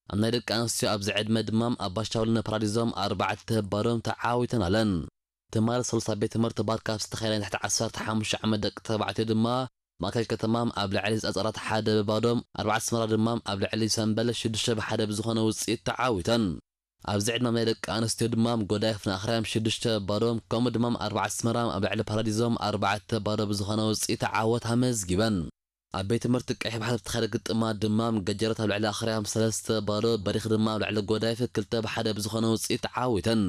ኣብ ናይ ደቂ ኣንስትዮ ኣብዚ ዕድመ ድማ ኣብ ባሻውል ንፓራዲዞም ኣርባዕተ ባዶም ተዓዊተን ኣለን። ትማሊ ሰሉስ ኣብ ቤት ትምህርቲ ባርካ ኣብ ዝተኻየደ ናይ ትሕቲ ዓሰርተ ሓሙሽተ ዓመት ደቂ ተባዕትዮ ድማ ማእከል ከተማም ኣብ ልዕሊ ጸጸራት ሓደ ብባዶም፣ ኣርባዕተ ኣስመራ ድማ ኣብ ልዕሊ ሰምበል ሽዱሽተ ብሓደ ብዝኾነ ውጽኢት ተዓዊተን። ኣብዚ ዕድመ ናይ ደቂ ኣንስትዮ ድማ ጎዳይፍ ንኣኽርያም ሽዱሽተ ባዶም፣ ከምኡ ድማ ኣርባዕተ ኣስመራ ኣብ ልዕሊ ፓራዲዞም ኣርባዕተ ባዶ ብዝኾነ ውጽኢት ዓወት ኣመዝጊበን። ኣብ ቤት ትምህርቲ ቀይሕ ባሕሪ ዝተኻየደ ግጥማት ድማ ገጀረት ኣብ ልዕሊ ኣኽርያም ሰለስተ ባዶ፣ በሪኽ ድማ ኣብ ልዕሊ ጎዳይፍ ክልተ ብሓደ ብዝኾነ ውጽኢት ተዓዊተን።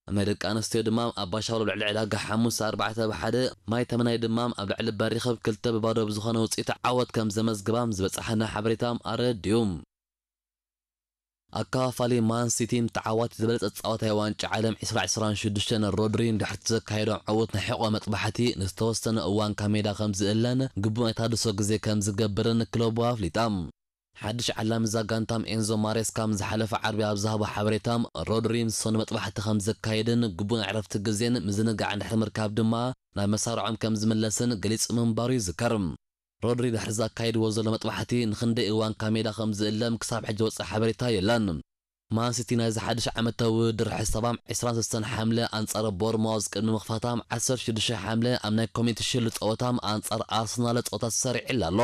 ኣብ ናይ ደቂ ኣንስትዮ ድማ ኣብ ባሻውል ኣብ ልዕሊ ዕዳጋ ሓሙስ ኣርባዕተ ብሓደ፣ ማይ ተመናይ ድማ ኣብ ልዕሊ በሪኸብ ክልተ ብባዶ ብዝኾነ ውጽኢት ዓወት ከም ዘመዝግባም ዝበጻሓና ሓበሬታ ኣረዲኡ። ኣከፋፋሊ ማን ሲቲን ተዓዋቲ ዝበለጸ ተጻዋታይ ዋንጫ ዓለም ዕስራ ዕስራን ሽዱሽተን ሮድሪን ድሕርቲ ዘካየዶም ዕዉት ናይ ሕቖ መጥባሕቲ ንዝተወሰነ እዋን ካብ ሜዳ ከም ዝእለን ግቡእ ናይ ታድሶ ግዜ ከም ዝገብርን ክለቡ ኣፍሊጣ። ሓድሽ ዓላሚ እዛ ጋንታም ኤንዞ ማሬስካ ምስ ዝሓለፈ ዓርቢ ኣብ ዝሃቦ ሓበሬታ፣ ሮድሪ ምስ ሶኒ መጥባሕቲ ከም ዘካየድን ግቡእ ናይ ዕረፍቲ ግዜን ምዝንጋዕ እንድሕሪ ምርካብ ድማ ናብ መሳርዖም ከም ዝምለስን ገሊጹ ምንባሩ ይዝከር። ሮድሪ ድሕሪ ዘካየድዎ ዘሎ መጥባሕቲ ንኽንደይ እዋን ካብ ሜዳ ከም ዝእለም ክሳብ ሕጂ ወጸ ሓበሬታ የለን። ማንሲቲ ናይዚ ሓድሽ ዓመታዊ ውድድር ሕሳባም ዕስራን ሰለስተን ሓምለ ኣንጻር ቦርማውዝ ቅድሚ ምኽፋታም ዓሰርተ ሽዱሽተ ሓምለ ኣብ ናይ ኮሚኒቲ ሽልድ ጸወታም ኣንጻር ኣርሰናል ጸወታ ተሰሪዕላ ኣሎ።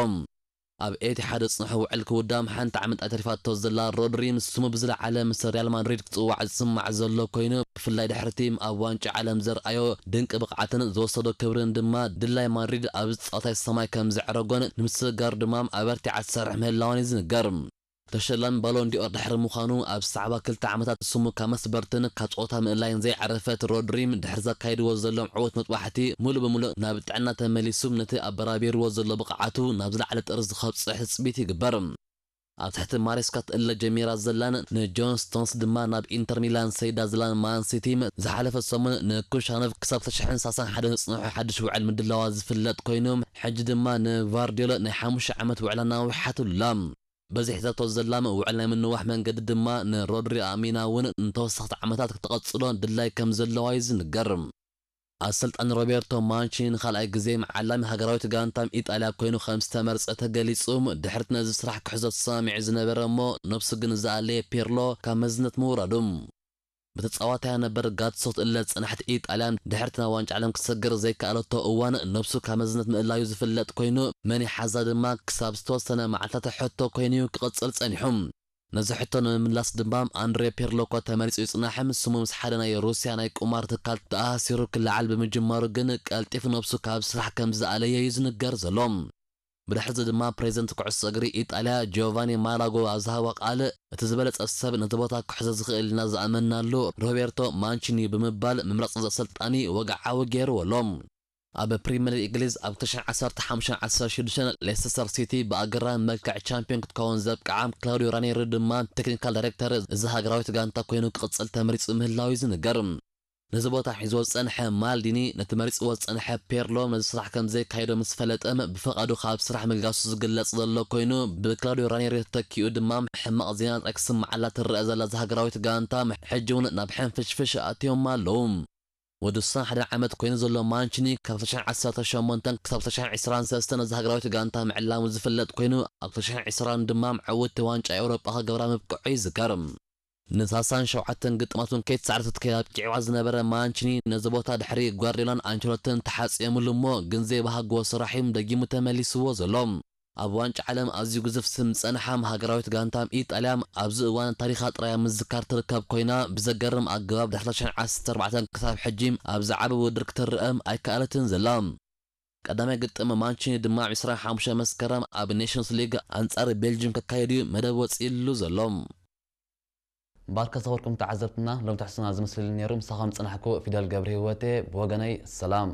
ኣብ ኤቲሓድ ዝጽንሖ ውዕል ክውዳም ሓንቲ ዓመት ኣይተሪፋቶ ዘላ ሮድሪ፣ ንስሙ ብዝለዓለ ምስ ሪያል ማድሪድ ክጽዋዕ ዝስማዕ ዘሎ ኮይኑ፣ ብፍላይ ድሕሪ እቲ ኣብ ዋንጫ ዓለም ዘርኣዮ ድንቂ ብቕዓትን ዝወሰዶ ክብርን ድማ ድላይ ማድሪድ ኣብዚ ጸወታ ሰማይ ከም ዘዕረጎን ንምስግጋር ድማ ኣበርቲዓ ትሰርሕ ምህላዋን እዩ ዝንገር። ተሸላሚ ባሎን ዲኦር ድሕሪ ምዃኑ ኣብ ዝሰዕባ ክልተ ዓመታት ስሙ ካብ መስበርትን ካብ ጸወታ ምእላይን ዘይዓረፈት ሮድሪም ድሕሪ ዘካይድዎ ዘሎም ዕዉት መጥባሕቲ ሙሉእ ብሙሉእ ናብ ጥዕና ተመሊሱ ነቲ ኣበራቢርዎ ዘሎ ብቕዓቱ ናብ ዝለዓለ ጥርዚ ከብጽሕ ትጽቢት ይግበር። ኣብ ትሕቲ ማሬስካ ትእለ ጀሚራ ዘላን ንጆን ስቶንስ ድማ ናብ ኢንተር ሚላን ሰይዳ ዘላን ማን ሲቲ ዝሓለፈ ሰሙን ንኩሻኖቭ ክሳብ ክልተ ሽሕን ሰላሳን ሓደን ዝጽንሖ ሓድሽ ውዕል ምድላዋ ዝፍለጥ ኮይኑ፣ ሕጂ ድማ ንቫርዲዮሎ ናይ ሓሙሽተ ዓመት ውዕላ ናዊሓትሉላ። በዚ ሒዛቶ ዘላ ውዕል ናይ ምንዋሕ መንገዲ ድማ ንሮድሪ ኣሚና እውን ንተወሰኽቲ ዓመታት ክትቐጽሎ ድላይ ከም ዘለዋ እዩ ዝንገር። ኣሰልጣኒ ሮቤርቶ ማንቺኒ ንኻልኣይ ግዜ መዓላሚ ሃገራዊት ጋንታም ኢጣልያ ኮይኑ ከም ዝተመርጸ ተገሊጹ። ድሕሪት ነዚ ስራሕ ክሕዞ ተሰማሚዑ ዝነበረ እሞ ነብሱ ግን ዝኣለየ ፒርሎ ካብ መዝነት ምውራዱ። ብተጻዋታያ ነበር ጋትሶ ትእለ ዝጸናሕት ኢጣልያ ድሕሪት ናብ ዋንጫ ዓለም ክትሰግር ዘይከኣለቶ እዋን ነብሱ ካብ መዝነት ምእላዩ ዝፍለጥ ኮይኑ፣ መን ይሓዛ ድማ ክሳብ ዝተወሰነ መዓልታት ሕቶ ኮይኑ እዩ ክቕጽል ጸኒሑ። ነዚ ሕቶ ንምምላስ ድማ ኣንድሬ ፒርሎ እኳ ተመሪጹ ይጽናሕም፣ ስሙ ምስ ሓደ ናይ ሩስያ ናይ ቁማር ትካል ተኣሳሲሩ ክለዓል ብምጅማሩ ግን ቀልጢፉ ነብሱ ካብ ስራሕ ከም ዝኣለየ እዩ ዝንገር ዘሎ። ብድሕሪዚ ድማ ፕሬዚደንት ኩዕሶ እግሪ ኢጣልያ ጂዮቫኒ ማላጎ ኣብ ዝሃቦ ቃል፣ እቲ ዝበለጸ ሰብ ነቲ ቦታ ክሕዞ ዝኽእል ኢና ዝኣመንናሉ ሮቤርቶ ማንቺኒ ብምባል ምምራጽ እዚ ኣሰልጣኒ ወግዓዊ ገይርዎ ኣሎ። ኣብ ፕሪምየር ሊግ እንግሊዝ ኣብ ክልተ ሽሕን ዓሰርተ ሓሙሽተን ዓሰርተ ሽዱሽተን ሌስተስተር ሲቲ ብኣገራሚ መልክዕ ቻምፒዮን ክትከውን ዘብቅዓ ክላውዲዮ ራኔሪ ድማ ቴክኒካል ዳይሬክተር እዚ ሃገራዊት ጋንታ ኮይኑ ክቕጽል ተመሪጹ ምህላው እዩ ዝንገር። ነዚ ቦታ ሒዝዎ ዝጸንሐ ማልዲኒ ነቲ መሪጽዎ ዝጸንሐ ፔርሎ ነዚ ስራሕ ከም ዘይካየዶ ምስ ፈለጠ ብፈቓዱ ካብ ስራሕ ምግላሱ ዝግለጽ ዘሎ ኮይኑ፣ ብክላውዲዮ ራኔሪ ተተኪኡ ድማ ሕማቕ ዜና ጥራይ ክስምዓላ ትረአ ዘላ እዛ ሃገራዊት ጋንታ ሕጂ እውን ናብ ሕንፍሽፍሽ ኣትዮም ኣለዉ። ወዲ ሱሳን ሓደ ዓመት ኮይኑ ዘሎ ማንቺኒ ካብ ክልተ ሽሕን ዓሰርተ ሸሞንተን ክሳብ ክልተ ሽሕን ዕስራን ሰለስተን ነዚ ሃገራዊት ጋንታ ምዕላሙ ዝፍለጥ ኮይኑ፣ ኣብ ክልተ ሽሕን ዕስራን ድማ ዕውቲ ዋንጫ ኤውሮጳ ክገብራ ምብቅዑ ይዝከር። ንሳሳን ሸውዓተን ግጥማቱን ከይተሳዕረ ተትከይድ ኣብቂዕዋ ዝነበረ ማንቺኒ ነዚ ቦታ ድሕሪ ጓርዲዮላን ኣንቸሎትን ተሓጽዮምሉ እሞ ግን ዘይበሃግዎ ስራሕ እዩ ደጊሙ ተመሊስዎ ዘሎ። ኣብ ዋንጫ ዓለም ኣዝዩ ግዙፍ ስም ዝጸንሓም ሃገራዊት ጋንታም ኢጣልያ ኣብዚ እዋን ታሪኻ ጥራይ ኣብ ምዝካር ትርከብ ኮይና፣ ብዘገርም ኣገባብ ድሕሪ ክልተ ሽሕን ዓሰርተ ኣርባዕተን ክሳብ ሕጂ ኣብ ዝዓቢ ውድድር ክትረኣም ኣይከኣለትን ዘላ። ቀዳማይ ግጥም ማንቺኒ ድማ ኣብ ዕስራን ሓሙሽተን መስከረም ኣብ ኔሽንስ ሊግ ኣንጻር ቤልጅም ከካየድ እዩ መደብ ወጺእሉ ዘሎ። ባርካ ዝኸበርኩም ተዓዘብትና፣ ሎም ትሕዝቶና ዝመስል ነይሩ። ምሳኹም ዝጸናሕኩ ፊደል ገብረ ህይወቴ። ብወገነይ ሰላም።